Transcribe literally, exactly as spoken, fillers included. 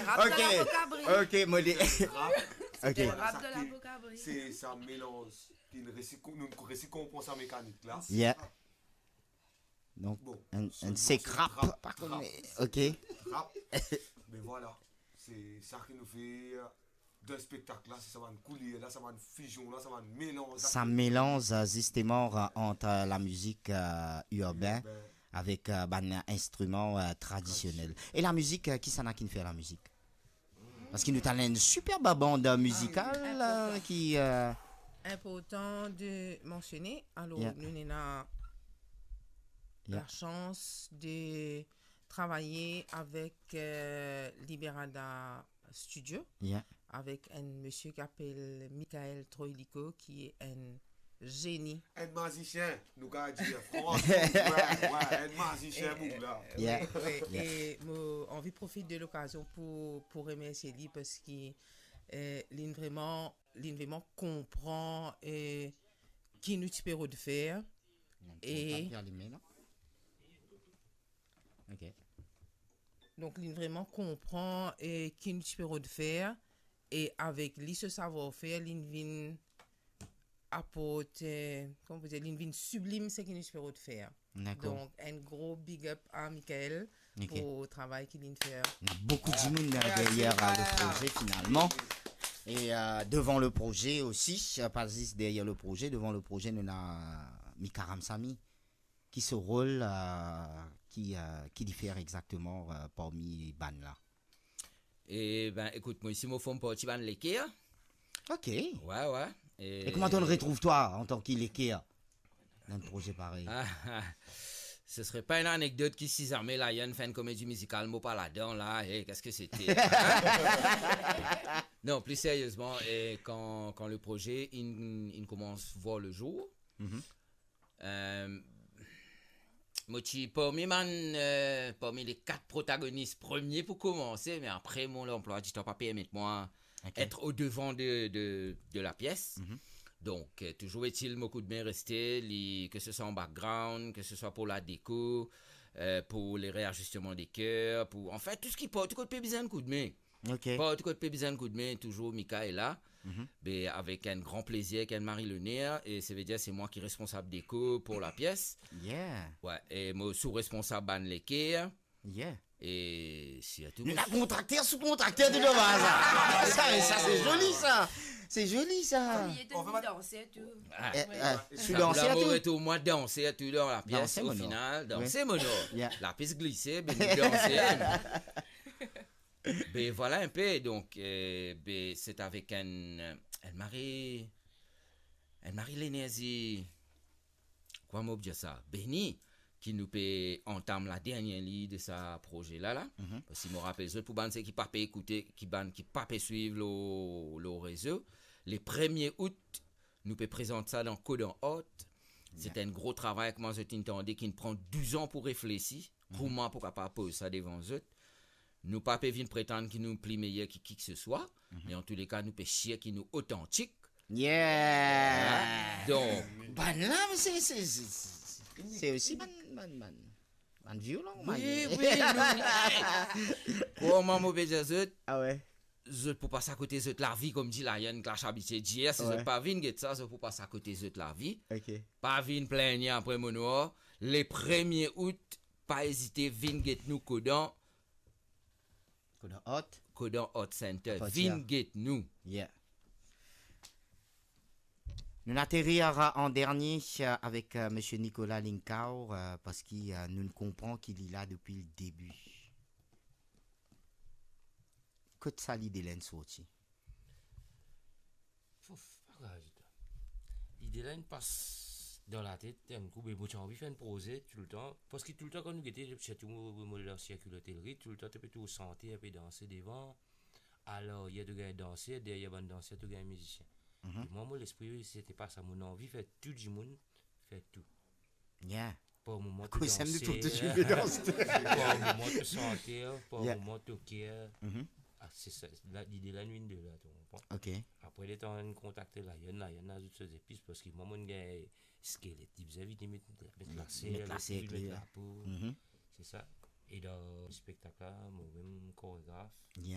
Rap de lavo kabri. Ok, mo li. Rap. Ok. Rap de lavo kabri. Se sa melanz ki nou resi, nou resi konpran sa mekanik la. Yeah. Donk, bon, enn, enn sek rap, rap, pa kone. Ok. Rap. Me vwala, se sa ki nou fer dan spektak la, se sa bann kouler la, sa bann fizion la, sa bann melanz la. Sa melanz, euh, zisteman, euh, ant, euh, lamizik, euh, irben avek, euh, bann instriman, euh, tradisionel. Tradisionel. E lamizik, euh, kisannla ki'nn fer lamizik? Paski nou ti ena enn superb band mizikal, euh, ki, euh, Inportan de mansione. Alor, yeah, nou ena yeah, la chans de travay avek, euh, Liberada Studio, yeah, avek enn misie ki apel Michael Troilico, ki enn zeni. Enn mazisien, nou kapav dir, fransman, wi, wi, enn mazisien, boug la. Yeah. Wi, wi. Yeah. E mo anvi profit de lokazion pou, pou remersie li, paski, euh, li'nn vreman, li'nn vreman konpran, euh, ki nou ti pe rod fer. Donk, e kontak li alime la. Ok. Donk, li'nn vreman konpran, eh, ki nou ti pe rod fer, e avek li, so savwar-fer, li'nn vinn aport, eh, kouma pou dir, li'nn vinn siblim seki nou ti pe rod fer. Dakor. Donk, enn gro big up a Michael, ok, pou travay ki li'nn fer. Boukou dimoun, euh, deryer, euh, le proze, finalman. E, euh, devan le proze osi, euh, pa zis deryer le proze, devan le proze, nou ena Mika Ramsamy. Ki so rol, euh, ki, euh, ki li fer exakteman, euh, parmi bann la? E ben, ekout, mwa osi mo form parti bann Leker. Ok. Wi, wi. E kouma to'nn retrouv twa antan ki Leker dan enn proze parey? Ah, ah. Ce serait pas une anecdote ki si zame la, inn fer enn komedi mizikal, mo pa ladan la, eh, qu'est-ce que c'était? Non, pli seriezman, e kan, kan le proze inn, inn koumans vwar le zour, mhm. Euh, mo ti parmi bann, euh, parmi le kat protagonis premie pou koumanse, me apre mo lanplwa ditan pa permet mwa, ok, et o devan de, de, de la pies. Mhm. Donk, euh, touzour etil, mo koudme reste, li, ke se swa an background, ke se swa pou la deko, euh, pou le reazisteman de ker, pou, anfin, tou seki, tou kot pe bizin koudme. Ok. Partou kot pe bizin koudme, touzour Mika ena la. Mhm. Be avek enn gran plezir, ek enn mari loner, e se ve dir se mwa ki responsab deko pou la pies. Yeah. Wi, e mo sou-responsab bann Leker. Yeah. E sirtou... Nou ena kontrakter sou kontrakter, tou dan sa. Sa, sa, se zoli, sa. Se zoli, sa. Ou ete danser tou. Ah. Eh, eh, wi. Sou danser tou. Mo ete mwa danser tou dan la pies, o final, danser, mono. Yeah. La pies glise, be nou danse. Be vwala enpe, donk, eh, be, se avek enn, enn mari, enn mari lenerzi, kouma mo pou dir sa, beni, ki nou pe antam la dernie lign de sa proze la, la. Mhm. Paski mo rapel zot, pou bann seki pa pe ekoute, ki bann ki pa pe swiv lor, lor rezo, le premie out, nou pe prezant sa dan Kodan Art. Se enn gro travay, kouma zot inn tande, ki'nn pran douz an pou reflesi, mhm, kouma pou kapav poz sa devan zot. Nou pa pe vinn pretann ki nou pli meyer ki kikeseswa, mhm, me antouleka, nou pe sir ki nou otantik. Yeah! Donk, bann la, se, se, se, se, se osi bann, bann, bann, bann violon, bann... Wi, wi, wi. Kouma mo pe dir zot? Ah wi. Zot pou pas akote zot lavi, kouma dir Lion Clash abitie dir, si zot pa vinn get sa, zot pou pas akote zot lavi. Ok. Pa vinn plengne apre mo nwar. Le premie out, pa ezite, vinn get nou Kodan. Kodan Art. Kodan Art Center. Vinn get nou. Yeah. Nou aterir an dernie, euh, avek, euh, misie Nicolas Lincau, euh, paski, euh, nou konpran ki li la depi le debi. Kot sa lide la inn sorti? Fouf, pa grav ditou. Lide la inn pas dan latet, enn kou, be mo ti anvi fer enn proze toultan, paski toultan kan nou gete, sirtou mo, mo, mo dan sirkil otelri, toultan to pe trouv santer, enpe danse devan, alaryer to gagn danser, deryer bann danser to gagn mizisien. Mhm. E mwa, mo lespri, se ti pa sa, mo anvi fer tou dimoun fer tou. Yeah. Par moman to danser, par moman to santer, par moman to ker. Mhm. Ah, se sa, la, lide la inn vinn de la, to konpran? Ok. Apre, letan inn kontakte Lion, Lion ena zot so zepis, paski mwa, mo gagn skelet, li bizin vini met, met laser, met laser, met lapo. Mhm. Se sa. E dan spektak la, mo mem koregraf. Yeah.